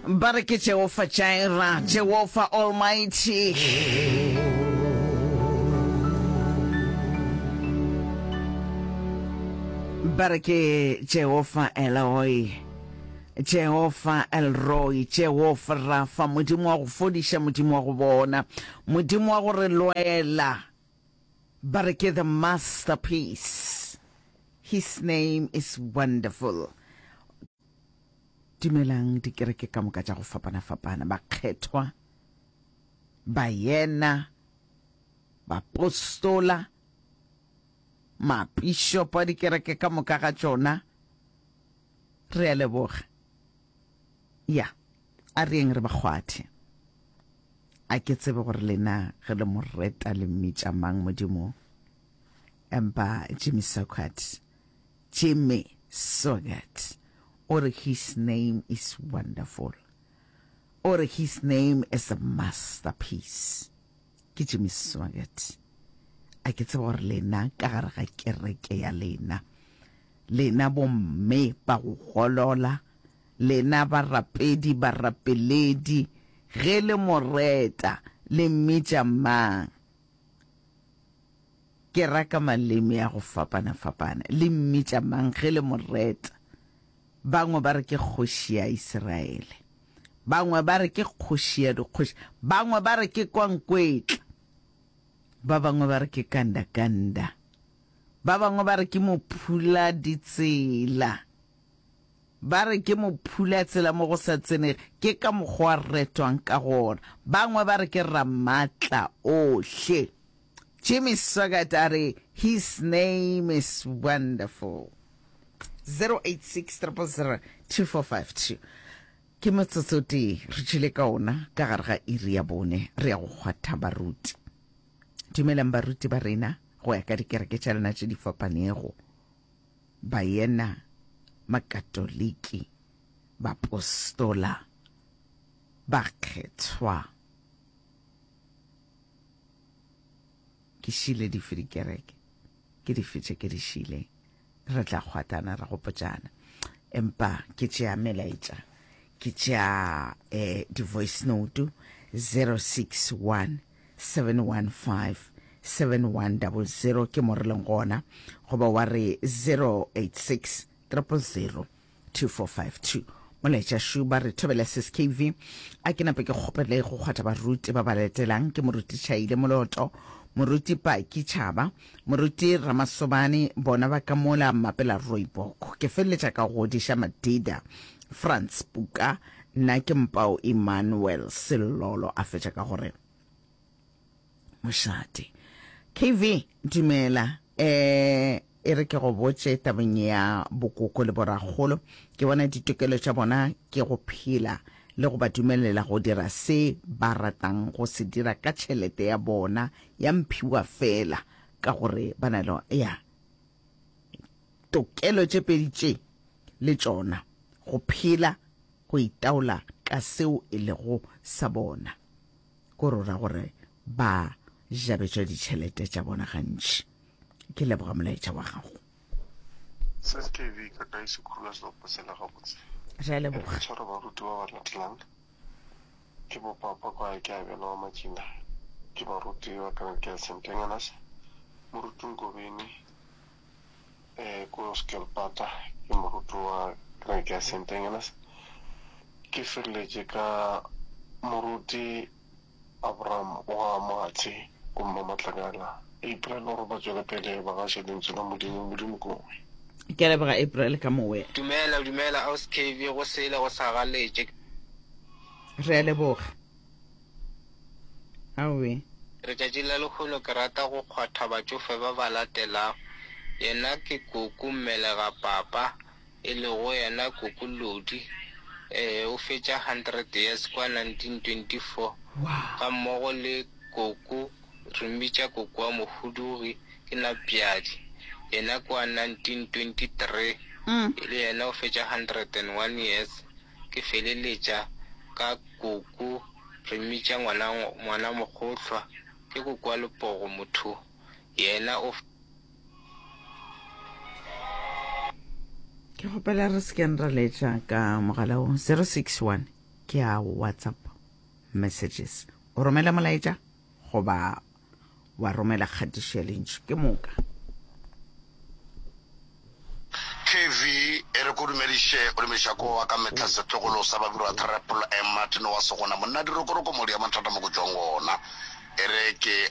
Ba re ke Jehofa Jireh, Jehofa Almighty. Ba re ke Jehofa Eloi, Jehofa El Roi, Jehofa Rafa, Modimo wa go fodiša, Modimo wa go bona, Modimo wa go re lwela. Ba re ke the masterpiece. His name is wonderful. Dumelang dikereke ka moka tša go fapana-fapana, bakgethwa, baena, bapostola, mapišopo a dikereke ka moka ga tšona. Re a leboga. Ya, a re yeng re ba kgwathe. A ke tsebe gore lena ge le mo reta le mmitša mang Modimo. Empa Jimmy Swaggart, Jimmy Swaggart, o re his name is wonderful. O re his name is a masterpiece. Ke Jimmy Swaggart. A ke tsebe gore lena ka gare ga kereke ya lena, lena bomme ba go golola, lena barapedi, barapeledi, ge le mo reta, le mmitša mang? Ke ra ka maleme a go fapana-fapana. Le mmitša mang ge le mo reta? Bangwe ba re ke kgoši ya Isiraele. Bangwe ba re ke kgoši ya dikgoši. Bangwe ba re ke Kwankwetla. Ba bangwe ba re ke Kandakanda. Ba bangwe ba re ke Mophuladitsela. Ba re ke mophulatsela mo go sa tsenege, ke ka mokgwa a retwang ka gona. Bangwe ba re ke Ramatla ohle. Jimmy Swaggart a re, His name is wonderful. 086 000 2452. Ke motsotso o tee re tšwile ka ona ka gare ga iri ya bone, re ya go kgwatha baruti. Dumelang baruti ba rena go ya ka dikereke tša lena tše di fapanego. Baena, Makatoliki, Bapostola, Bakgethwa. Ke šile dife dikereke? Ke dife tše ke di šileng? Re tla kgwatana ra gopotšana. Empa ke tšea melaetša, ke tšea eh, di-voice note 061 715 7100 ke mo re leng gona, goba wa re 086 000 2452. Molaetša šu ba re thobela sis KV. A ke nape ke kgopele go kgwatha baruti ba ba latelang ke moruti Chaile Moloto, moruti Paki Chaba, moruti Ramasobane, bona ba ka mola Mapela Rooibok. Ke feleletša ka go godiša Madida Frans Puka, nna ke Mpao Emmanuel Selolo a fetša ka gore mošate. KV dumela eh E re ke go botše tabeng ya bokoko le borakgolo, ke bona ditokelo tša bona ke go phela le go ba dumelela go dira se ba ratang go se dira ka tšhelete ya bona ya mphiwa feela ka gore ba na le ya tokelo tše pedi tše le tšona, go phela, go itaola ka seo e lego sa bona. Ko rora gore ba jabetšwa ditšhelete tša bona gantši. Ke leboga molaetša wa gago. Sis KV ka kae sekhula selopo sela gabotse. Re a leboga. Re tshwara baruti ba ba latelang ke bo papa kwa ke abela wa Makina ke baruti ba kereke ya St Engenas moruti Nkobeni eh ko Skelpata ke moruti wa kereke ya St Engenas ke feleletše ka moruti Abraham wa Moatshe go Mmamatlakala. April gore ba tšwele pele ba gaše Lentswe la Modimo. Modimo ke mowe. Ke a leboga April ka mowe. Dumela dumela aus KB go sele go sa galetše. Re a leboga. Aowe. Letšatši la lehono ke rata go kgwatha batšofe ba ba latelago. Yena ke koko mmelega papa e lego yena Koko Lodi, ee, o fetša 100 years kwa 1924, gammogo le Koko, re mmitša Koko wa Mohudugi, ke Napjadi, yena kwa 1923, le yena o fetša 101 years, ke feleletša ka Koko, re mmitša ngwana, ngwana Mogohlwa, ke Koko wa Lepogo motho, yena o. Ke kgopela re se keng ra letša ka mogala wo 061. Ke a WhatsApp messages. O romela molaetša goba wa romela kgatišo ya lentšu. Ke moka. KV, E re ko dumediše, o dumediša ko wa ka mehla setlogolo sa Babirwa Triple M Martin wa Segona monna dirokoroko modi ya mathata mo ko tšwang gona. E re ke.